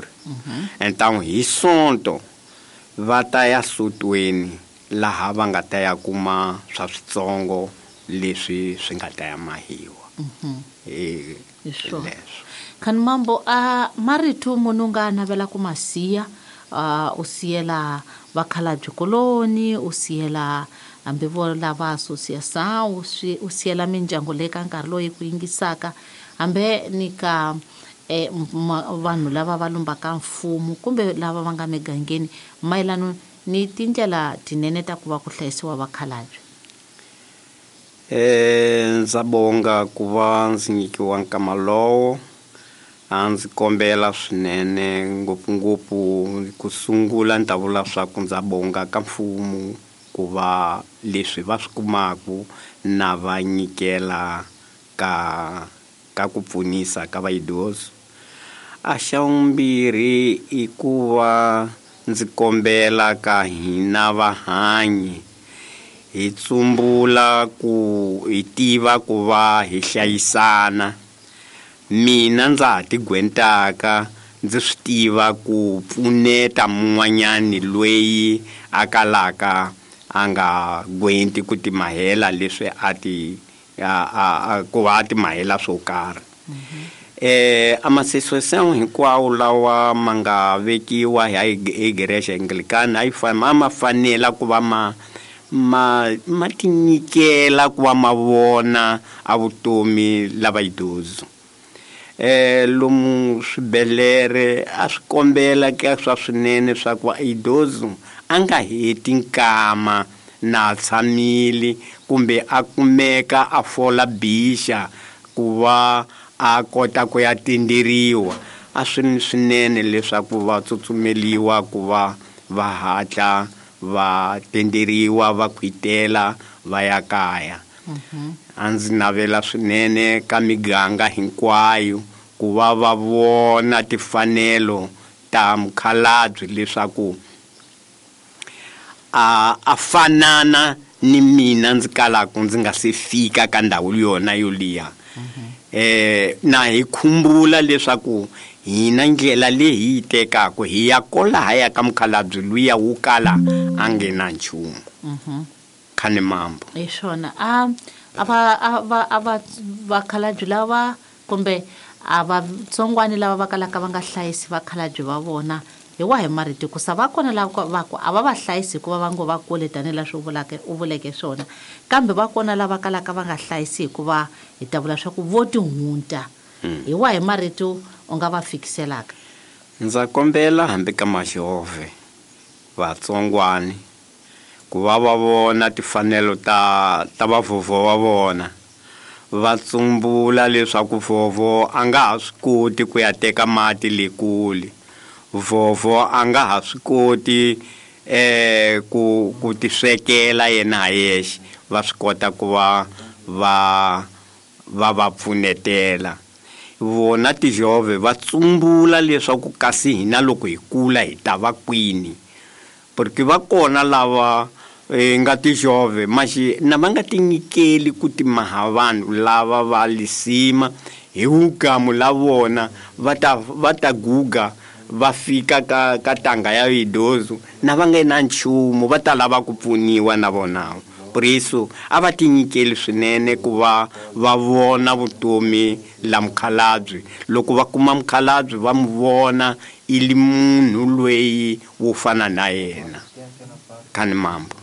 Pitori. Então hi Sonto va ta ya sotweni laha va nga ta ya kuma swa switsongo leswi swi nga ta ya mahiwa. Hi Hi swona. Leswo. Khani mambo a marito munhu u nga navela ku ma siya, u siyela vakhalabye koloni, u siyela hambi vo lava association, u siyela mindyangu leyi ka nkarhi loyi ku yingisaka, hambi ni ka vanhu lava va lombaka mfumo kumbe lava va nga migangeni mayelano ni tindlela tinene ta ku va ku hlayisiwa vakhalabye. Ndza bonga ku va ndzi nyikiwa nkama lowo. A ndzi kombela swinene ngopfungopfu ku sungula ni ta vula swa ku ndza bonga ka mfumo ku va leswi va swi kumaku na va nyikela ka ku pfunisa ka vaidoso. A xa vumbirhi i ku va ndzi kombela ka hina vahanyi hi tsumbula ku hi tiva ku va hi hlayisana. Mina ndza ha tigwentaka ndzi swi tiva ku pfuneta mun'wanyani loyi a kalaka a nga gwenti ku timahela leswi a ti, a, a, a, ku va a timahela swo karhi. A masesosão hinkwawo lawa ma nga vekiwa hi Igreja Anglicana a yi a ma fanela ku va ma tinyikela ku va ma vona a vutomi lava idoso. Lomu swibedhlele a swi kombela ka swa swinene swa ku idoso a nga heti nkama na tshamile kumbe a kumeka a fola bixa ku va a kota ku ya tenderiwa. A swi ni swinene leswaku va tsutsumeliwa ku va va hatla va tenderiwa va khwitela va ya kaya. A ndzi navela swinene ka miganga hinkwayo ku va va vona timfanelo ta mukhalabye leswaku a fanana ni mina ndzi kalaka ndzi nga se fika ka ndhawu yona yoliya. Na hi khumbula leswaku hina ndlela leyi hi yi tekaka hi ya kolahaya ka mukhalabye luya wo kala a nge na nchumu. Khani mambo. Hi swona. A va vakhalabye lava kumbe a va tsongwani lava va kalaka va nga hlayisi vakhalabye va vona hi wahi marito, ku sa va kona lava va ku a va va hlayisi hikuva va ngo va kule tanihileswi u vuleke swona, kambe va kona lava kalaka va nga hlayisi hikuva hi ta vula swa ku vo tihunta. Hi wahi marito u nga va fikiselaka? Ndza kombela hambi ka majove vatsongwani ku va va vona timfanelo ta vavhovho va vona, va tsumbula leswaku vhovho a nga ha swi koti ku ya teka mati le kule, vhovho a nga ha swi koti ku tiswekela yena ha yexe, va swi kota ku va va va pfunetela. Vona tijove va tsumbula leswaku kasi hina loko hi kula hi ta va kwini, porque va kona lava nga tijove maxi na va nga tinyikeli ku timaha vanhu lava va lisima hi wugamu la vona va ta guga va fika ka tanga ya idoso na va nga na nchumu, va ta lava ku pfuniwa na vona. Por isso a va tinyikeli swinene ku va va vona vutomi la mukhalabye. Loko va kuma mukhalabye va mu vona i li munhu loyi wo fana na yena. Khani mambo.